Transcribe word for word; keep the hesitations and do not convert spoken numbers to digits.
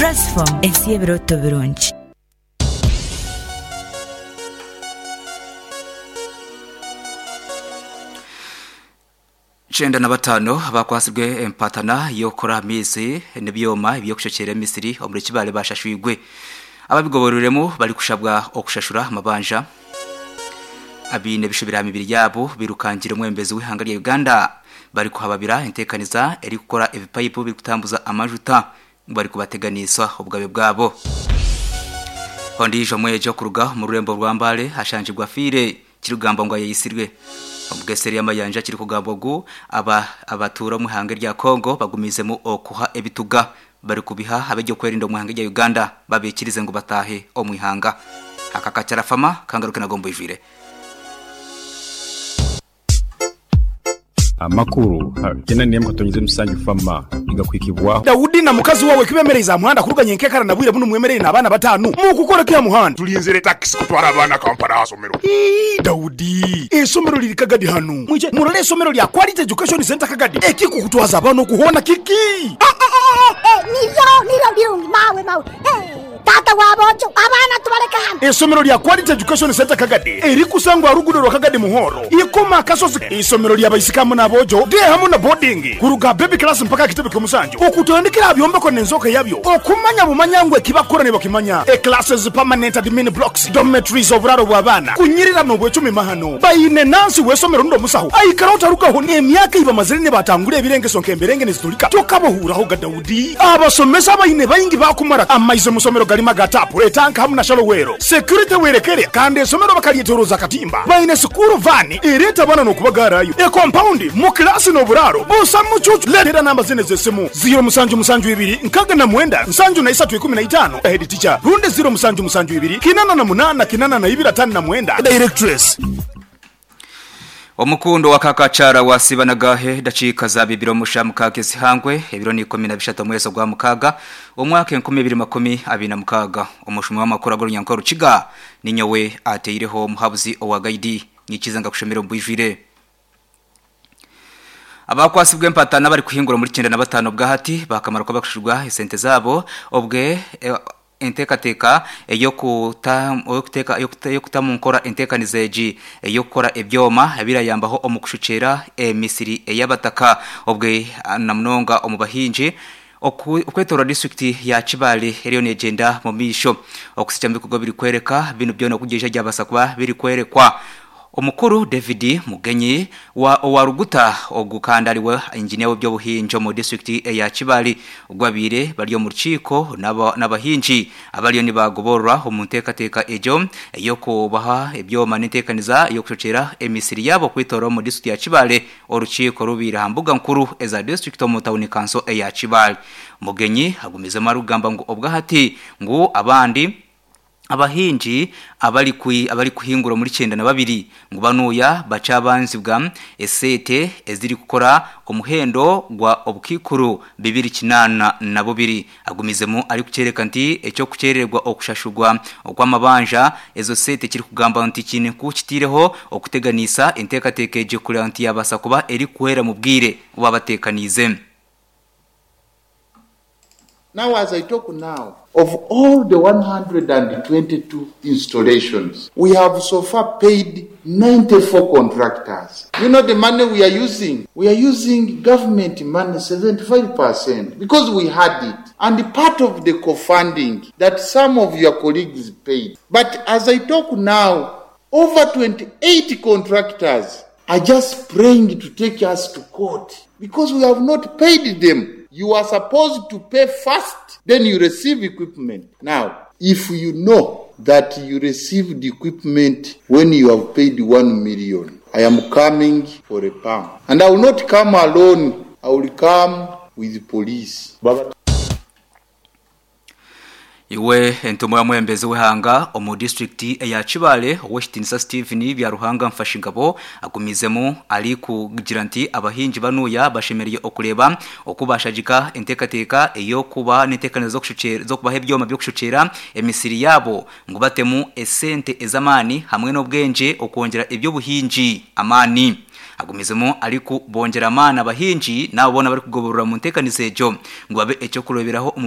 Rasfom ensi y'ebirooto birungi. Chenda na batano abakwasibwe empatana yokora amaizi n'ebyoma ebyokushokyera emisiri omuri Kibale bashashwigwe. Ababigoboreremu bari kushabwa okushashura amabanja. Abiine ebishobera mibiri yabo birukangire omwembezi w'ihanga rya Uganda bari kuhababira entekaniza eri kukora ebipayipu biri kutambuza amajuta bari kubateganisa obugabe bwabo. Ondijo mwejo kuruga mu rurembo rwa Mbale hashanjibwa fire kirugamba ngo yayisirwe. Omugeseri y'amayanja kiri kugambwa gu aba abatura mu ihanga rya Kongo bagumizemu okuha ebituga bari kubiha abejyo kwerinda mu ihanga rya Uganda babikirize ngo batahe omu ihanga. Akakacara fama kangaruke nagombo ijwire. Amakuru gena niye mukatonyeze musanju fama igakwikibwaho. Daudi na mukazi wawe kibemereza muhanda kuruganya enkekara na bwire buno mwemereye n'abaana batanu mukukora kya muhanda tulinzire taxi kutwara abana Kampala asomero. Ii, Daudi esomero liri Kagadi hano mwije murole esomero lya Quality Education Center Kagadi ekikukutwaza abana okuhona kiki. Eh, eh, eh, eh, nivyo nivyo birungi mawe mawe. Eh, tata wabojo abana tubareka hano. Esomero lya Quality Education Center Kagadi erikusangwa rugudo rwa Kagadi Muhoro ikoma kasozi. Isomero lya baisikamu n'abojo de hamwe na boarding kuruga baby class mpaka kitebe kyomusanju okutandikira byombeko n'enzoka yabyo okumanya bumanyangwe kibakora ne bakimanya. E classes permanent admin blocks dormitories oburaro bw'abaana kunyirira n'obwecumi mahano bayine nansi wesomero ndo musaho aikara utarugaho n'emyaka iba mazire ne batangure ebirengeso nk'emberenge nezitulika tokabohuraho ga Daudi. Abasomesa bayine bayingi bakumara amaize musomero galima gatapu etanka hamwe na shalowero security werekere kandi esomero bakalyetoroza katimba bayine sukuru vani ereta bana n'okubagarayo e compound mu klasi n'oburaro busa mucucu. Letera namba zine z'esimu zero musanju musanju ibiri nkaga na mwenda nsanju na isatu ikumi na itano head teacher runde zero musanju musanju ibiri kinana na munana kinana na ibiri atanu na mwenda directress. Omukundo wa kakachara wa sibanagahe dachika za bibiro mushamukage zihangwe ebiro ni ikumi na bishatu mwezi gwa mukaga omwaka enkumi ibiri makumi abiri na mukaga. Omushumi w'amakuru agorunyankoro Rukiga ninyowe ateireho muhabuzi owa gaidi nyikiza ngakushomera mbwijire. Abakwasibwe empatana bari kuhingura muri cyenda na batano bwahati bakamara ko bakushurwa esente zabo obwe e, entekateka eyo kuta okuteka yo kutamunkora entekanizeji eyo kukora ebyoma ebirayambaho omukushuchera emisiri eyabataka obwe namunonga omubahinji okwetora district ya Kibale eriyo negenda mu misho okusija mbikugo biri kwereka bino byona kugesha ryabasa kuba biri kwerekwa. Omukuru David Mugenyi wa owaruguta ogukandaliwe engineer w'ebyobuhinjo mu district ya Kibale ogwabire bali mu rukiko n'abahinji abaliyo nibagoborwa omu nteekateeka ejo eyokubaha ebyoma n'enteekaniza ey'okushocera emisiri yabo kwitora mu district ya Kibale. Orukiiko rubira ha mbuga nkuru eza district omu town council eya Kibale. Mugenyi agumizemu arugamba ngu obwahati ngu abandi abahinji abali kui abali kuhingura muri cyenda na babiri ngo banuya bacabanzibwa esete eziri gukora omuhendo gwa obukikuru bibiri kinana na bubiri. Agumizemu ari kucereka nti ecyo kucererwa okushashurwa okwamabanja ezo sete kiri kugamba nti kine kukitireho okuteganisa enteekateeka kuri anti yabasa kuba eri kuhera mu bwire babatekanize. Now, as I talk now, of all the one hundred twenty-two installations, we have so far paid ninety-four contractors. You know the money we are using? We are using government money seventy-five percent because we had it. And part of the co-funding that some of your colleagues paid. But as I talk now, over twenty-eight contractors are just praying to take us to court because we have not paid them. You are supposed to pay first, then you receive equipment. Now, if you know that you received equipment when you have paid one million, I am coming for a pump. And I will not come alone. I will come with the police. Baba. Iwe entumo ya mwembezi w'ihanga omu district ya Kibale Westinsa Steven Byaruhanga mfashingabo agumizemu ari kugira nti abahinji banuya bashemereye okureba okubashajika entekateka eyo kuba n'entekanizo zo kushuchera zo kubaha ebyoma byo kushuchera emisiri yabo ngo batemu esente ezamani hamwe n'obwenje okongera ebyo buhinji amani. Agumizemo ariko bongera amana abahinji nabo bona bari kugoborora mu ntekanizo ejo ngo babe ecyo kuroberaho.